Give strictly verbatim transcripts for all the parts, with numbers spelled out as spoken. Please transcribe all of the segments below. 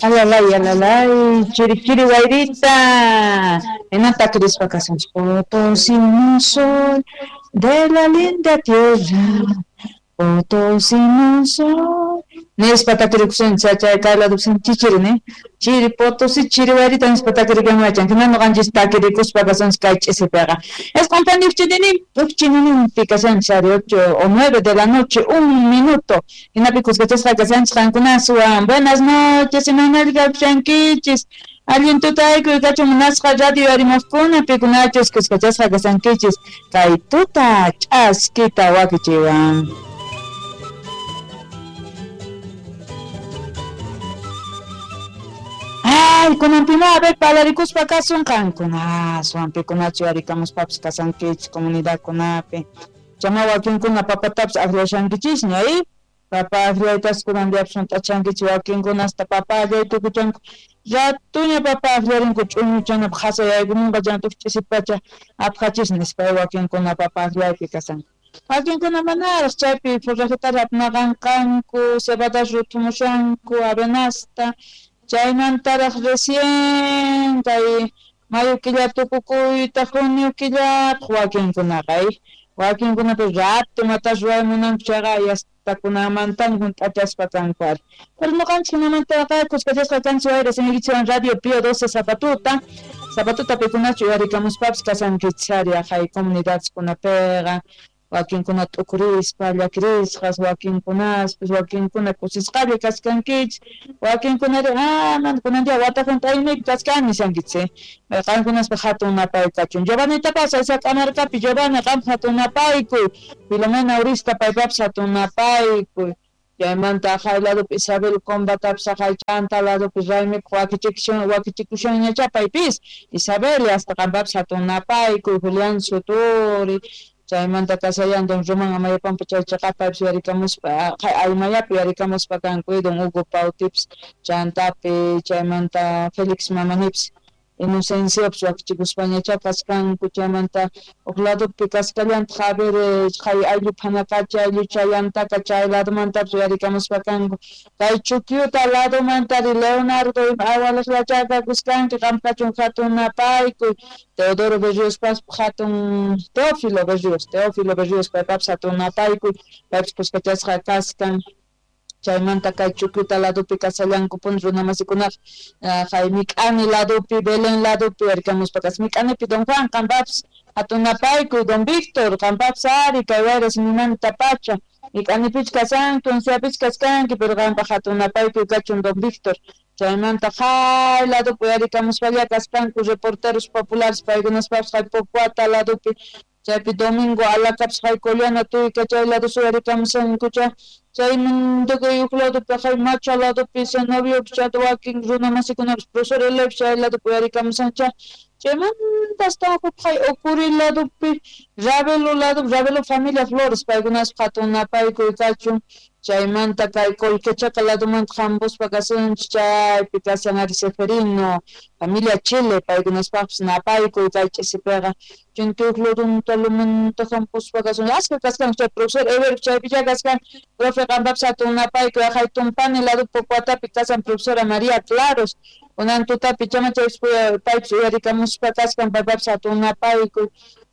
Alalay, alalay, chiri chiri wayrita. Hinata kirispa kasanchis. Potosino soy de la linda tierra. Potosino soy. Nispa takirikusunchis chay kay ladopi chichiri ne. Chiri Potosí chiri wayrita nispa takirikamuwachan. Hina ñuqanchis takirikuspa kasanchis kay ch'isipiqa. Isqun uchinininpi kasanchis ari ocho o nueve de la noche un minuto. Hinapi kuskachasqa kasanchis qankunaswan. Buenas noches, imaynalla kawshankichis. Allin tutaykuy kachun munasqa radio arimuqkuna pikunachus kuskachasqa kasankichis kay tuta ch'askita wakichiwan. Ay, kunanpima a ver palarikuspa kasun qankunaswan pikunachu yarikamuspapas kasankichis comunidadkunapi. Chama wakinkuna papatapas aklashankichisña, ¿eh? Papa akllaytas kunan diapas hunt'achankichis wakinkuna hasta papa akllay tukuchanku. Ratuña papa akllarinku ch'uñuchanapaq qhasayaykumunqa chanta huk ch'isipacha apqachis nispa wakinkuna papa akllaypi kasanku. Wakinkuna manaraq chaypi forrajetaraq apnaqanqanku, cebadas ruthumushanku, avenasta. Chaymantaraq recién kay mayo killa tukukuyta junio killapaq wakinkunaqa, ¿eh? Wakinkunapi rato matas ruway munanku chayqa yastakunamantan hunt'achaspa kanku ari. Pero ñuqanchis hinamantaqa kuskachasqa kanchis wayra simiykichikwan Radio Pío doce Zapatuta. Zapatuta pikunachu uyarikamuspapas kasankichis ari aqhay comunidadkunapiqa. Wakinkuna t'ukurispa llakirisqas, wakinkunaspis, wakinkuna kusisqalla kaskankichis, wakinkunari ah mana kunan día wata hunt'aymaypi kachkani nishankichis, eh. Qankunaspa hatun napay kachun. Giovanitapas Aysak'amarkapi Giovanni qampa hatun napaykuy, Filomena Urista paypapas hatun napaykuy. Chaymanta aqhay ladopi Isabel Combatapas aqhay chanta ladopi raymipaq wakichikushan wakichikushanñachá paypis Isabel hasta qampapas hatun napaykuy, Julián Suturi. Chaymanta kasayan don Román Amayapampa chay chaqapapis yarikamuspa Aymayapi yarikamuspa kanku don Hugo Pautips chantapi chaymanta Félix Mamanipis Inocenciopas wakichikuspañachá kaskanku chaymanta huk ladopi kaskallantaq a ver qhay ayllu phanakacha ayllu chayantaka chay ladomantapas yarikamuspa kanku kay Chukyuta ladomantari Leonardo ima awalaqllachá kakuskanki qam kachun hatun napaykuy Teodoro Berriospas hatun Teófilo Berrios Teófilo Berrios paypapas hatun napaykuy paypas kuskachasqa kaskan. Chaymanta kay Chukyuta ladopi kasallankupuni runamasikunaqa qhay Mik'ani ladopi Belén ladopi yarikamuspa kas Mik'anipi don Juan qampapas hatun napaykuy don Víctor qampapas ari kay wayra simimanta pacha Mik'anipich kasanki unciapich kaskanki pero qampaq hatun napaykuy kachun don Víctor. Chaymanta qhay ladopi yarikamuspalla kaspanku reporteros populares paykunaspapas qhay Pocuata ladopi chaypi Domingo Alakapas qhay Collana tuyka chay lado suyarikamusankucha chaymantaqa huk ladopi qhay Macha ladopi Zenobio chanta wakin runamasikunapas profesor Elep chay ladopi uyarikamusancha chaymanta hasta huk qhay Ocuri ladopi Ravelo ladopi Ravelo familia Flores paykunaspa hatun napaykuy kachun. Chaymanta kay Colquechaca ladomanta hampuspa kasunchis chaypi kasan ari Seferino familia Chile paykunaspaqpas napaykuy kay ch'isipiqa chunka huk ladonta lumanta hampuspa kasun askha kaskanku chay profesor Eber chaypichá kaskan profe qampapas hatun napaykuy aqhay Tumpani ladopi Pocuatapi kasan profesora María Claros kunan tutapi chama chaypis paypis uyarikamuspa kaskan paypapas hatun napaykuy.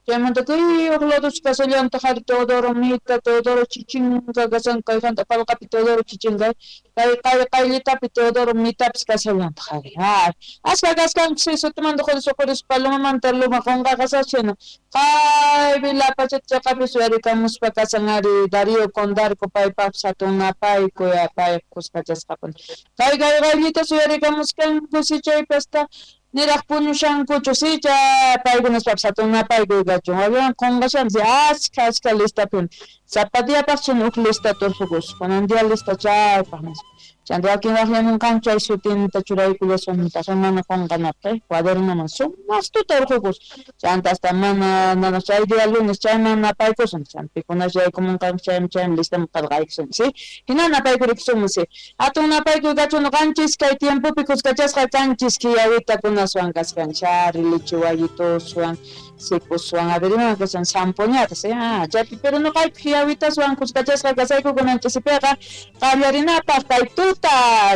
Chaymanta kay huk lados kasallantaq ari Teodoro Mita, Teodoro Chichinga kasan kay hanta Palqapi Teodoro Chichinga kay kay qayllitapi Teodoro Mitapis kasallantaq ari. Ay, askha kaskanku si sutimanta quris Palomamanta luma qunqaqasachina kaypi Lapachata chaqapis uyarikamuspa kasan ari Darío Condarco paypapas hatun napaykuy pay kuskachasqapuni. Kay kay qayllitas uyarikamuskanku si chaypi hasta niraq puñushankuchu si chay paykunaspapas hatun napaykuy kachun. Wawan qunqashanchis askha askha listapin sapa diapaq chin huk lista turqukus kunan día lista chaypaq nispa. Chanta wakin waqllamunqanku chay sutinta churaykullasuntaq mana qunqanapaq cuadernoman sumaqtuta urqukus chanta hasta mana mana chay día lunes chayman napaykusun chanta pikunas yaykumunqanku chaymi chaymi listaman qillqaykusun si hina napaykurikusunmi si hatun napaykuy kachun ñuqanchis kay tiempopi kuskachasqa kanchis kiyawitakunaswan kaskanchis ari lichiwayituswan sikuswan a ver iman kasan zampoñata si ah chaypi pero ñuqayku kiyawitaswan kuskachasqa kasayku kunan ch'isipiqa qallarinapaq kay tuta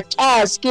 ch'aski.